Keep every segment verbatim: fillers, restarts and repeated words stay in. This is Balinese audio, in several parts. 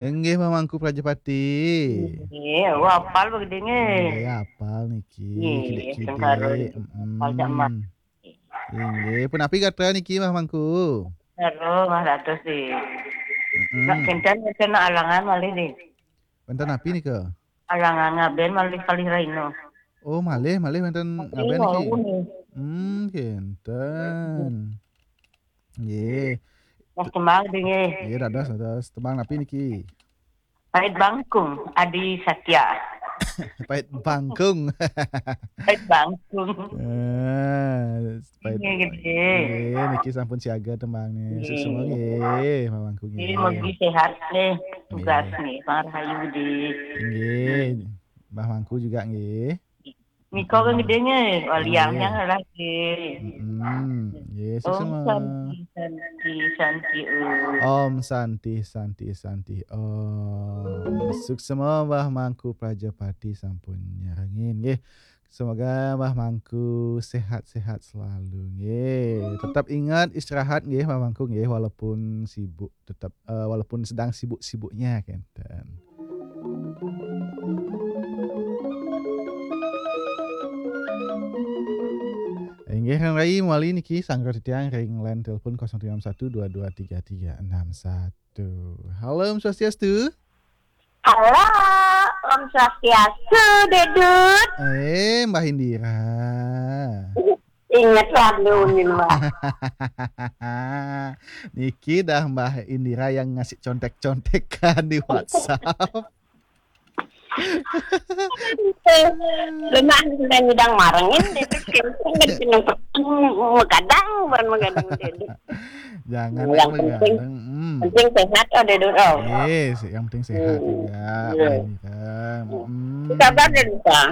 Inggih, Mbah Mangku Prajapati. Nggih, wah, apal begede nggih. Nggih, apal niki. Nggih, kidik-kidik. Sengkarun. Mm-mm. Apal jak Mbah. Inggih, punapi gatra niki, Mbah Mangku? Karo Mbah Dados, nggih. Mm-mm. Nak kinten, kinten alangan malih, nggih. Wénten napi nika? Alangan ngaben malih kalih raina. Oh, malih, malih wénten ngaben niki. Wau nggih. Hmm, kinten. Nggih. Mas tembang nggih. Nggih, dados, dados. Tembang napi niki? Pait Bangkung, Adi Satya. Pait Bangkung. Pait Bangkung. Eh, pait. Nggih, nggih. Nggih, niki sampun siaga tembangnya. Nggih. Suksma nggih, Mbah Mangku nggih. Nggih, mugi sehat nggih, tugas nggih, Bang Rahayu di. Nggih. Mbah Mangku juga nggih. Nika kan gedenya, waliangnya lagi. Mm-mm. Yes, Om semua. Santi, Santi, Santi, Om. Om Santi, Santi, Santi, Om. Suksma Mbah Mangku Prajapati sampun nyarengin, nggih. Semoga Mbah Mangku sehat-sehat selalu, nggih. Tetap ingat istirahat, nggih, Mbah Mangku, nggih, walaupun sibuk, tetap, eh, walaupun sedang sibuk-sibuknya, kenten. Inggih, Kang Rai, mawali niki sanggra titiang ring line telepon kosong tiga enam satu dua dua tiga tiga enam satu. Halo, Om Swastiastu. Halo, Om Swastiastu, Dedut. Eh, Mbah Indira. Ingat lagu nih, Mbah. Niki dah Mbah Indira yang ngasih contek-contekan di WhatsApp. Lemah, sudah ngidang marengin, Dedut, kenteng, dan pinung-pinung, megadang, bukan megadang, Dedut. Jangan yang penting, hmm, penting sehat, oh, Dedut, oh. Yes, yang penting sehat juga, Mbah Indira. Hmm. Apa kabar, Dedut?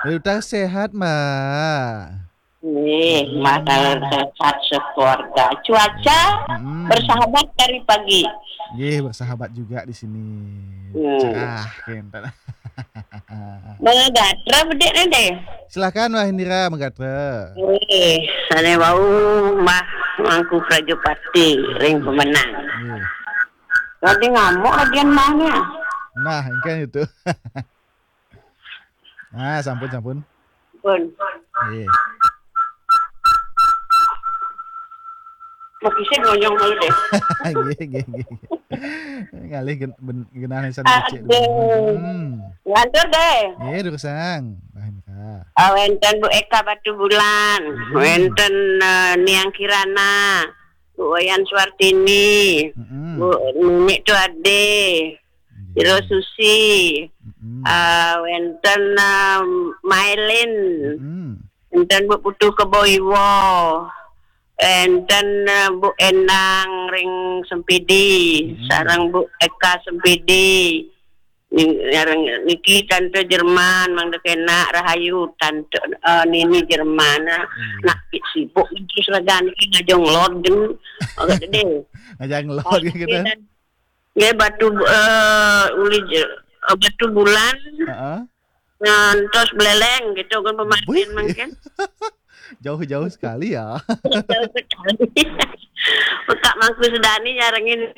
Dedut sehat, Mbah. Nggih, hmm, Mas, sehat sekeluarga. Cuaca, hmm, bersahabat dari pagi. Nggih, bersahabat juga di sini. Hmm. Cerah, kenten. Magatra bedik nih, deh. Silakan, Mbah Indira, magatra. Nggih, sané wau Mbah Mangku Prajapati ring pemenang. Nggih. Tadi ngamuk lagian Mbahnya. Nah, engken itu. Ah, sampun, sampun. Pun. Nggih. Mau kisah ngonyong dulu deh. Nggih, nggih, nggih. Ngalih gen-, ben-, genah nisan becik. Aduh. Hmm. Lantur deh. Nggih, durusang. Nah, ini, Kak. Ah, wénten Bu Eka Batubulan, hmm, wénten, eh, Niang Kirana, Bu Wayan Suartini, hmm, Bu Nini Tuade, nggih. Ira Susi, mm-mm, ah, wénten, ah, Mailin, mm-mm, wénten Bu Putu Kebo Iwa, wénten, ah, Bu Endang ring Sempidi, mm-mm, sareng Bu Eka Sempidi. Ning-, sareng niki Tante Jerman, mangda kenak rahayu, Tante, eh, Nini Jerman. Nah, nggih, nak sibuk terus raga niki ngajeng lod gen. Agak gede. Ngajeng lod gitu. Nggih, Batu, eh, uli je-, eh, Batubulan. Heeh. Ngantos Beleleng gitu kan, pemanten. Wih. Mungkin. Jauh-jauh sekali ya. Jauh sekali. Pak Mangku Sudani nyarengin.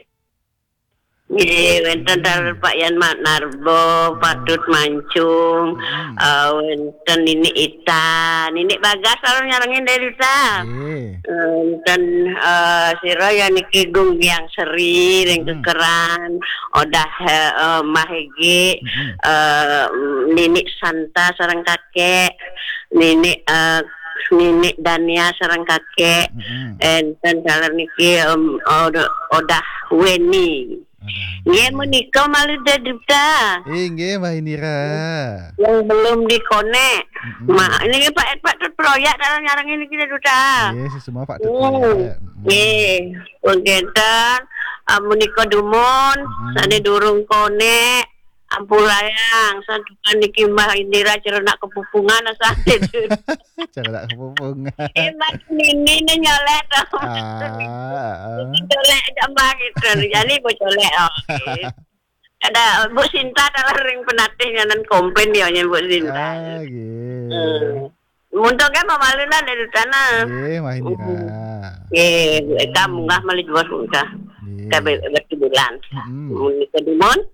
Nggih, wénten, hmm, taler Pak Yan Mat Narbo, Pak, hmm, Tut Mancung, hmm, eh, wénten Nini Ita, Nini Bagas kalau nyarengin dari Ita. Nggih. Wénten, eh, sira ya niki Gung Biang Seri ring, hmm, Kekeran, Odah, eh, eh, Mbah Egi, hmm, eh, Nini Santa sareng kakek, Nini, eh, Nini Dania sareng kakek, hmm, énten taler niki, em, Odah, Odah Weni. Ada. Nggih, menika malih Dedut. Inggih, Mbah Indira. Yang belum dikonek. Mm-mm. Ma-, niki Pak, Pak Tut Proyak kalau nyarengin niki Dedut. Nggih, sesama Pak Tut Proyak. Mm. Mm-mm. Nggih, pun kenten, ah, menika dumun, mm-mm, sané durung konek, ampurayang, santukan niki Mbah Indira cerenak kepupungan, asal Dedut. Cara tak kepupung. Eh, Mbak Nini ni nyolek tau. Ah, ah. Nyolek aja Mbak gitu. Jadi Bu colek, oh, okey. Ada Bu Sinta dalam ring penatih nyanan komplain dia nya Bu Sinta. Ah, gitu. Hmm. Muntung kan pemalunan dari sana. Nggih, Mbah Indira. Hmm. Nggih, Bu Eka munggah malih jual munggah. Nggih. Ka be-, berkebulan. Mun nika dumun,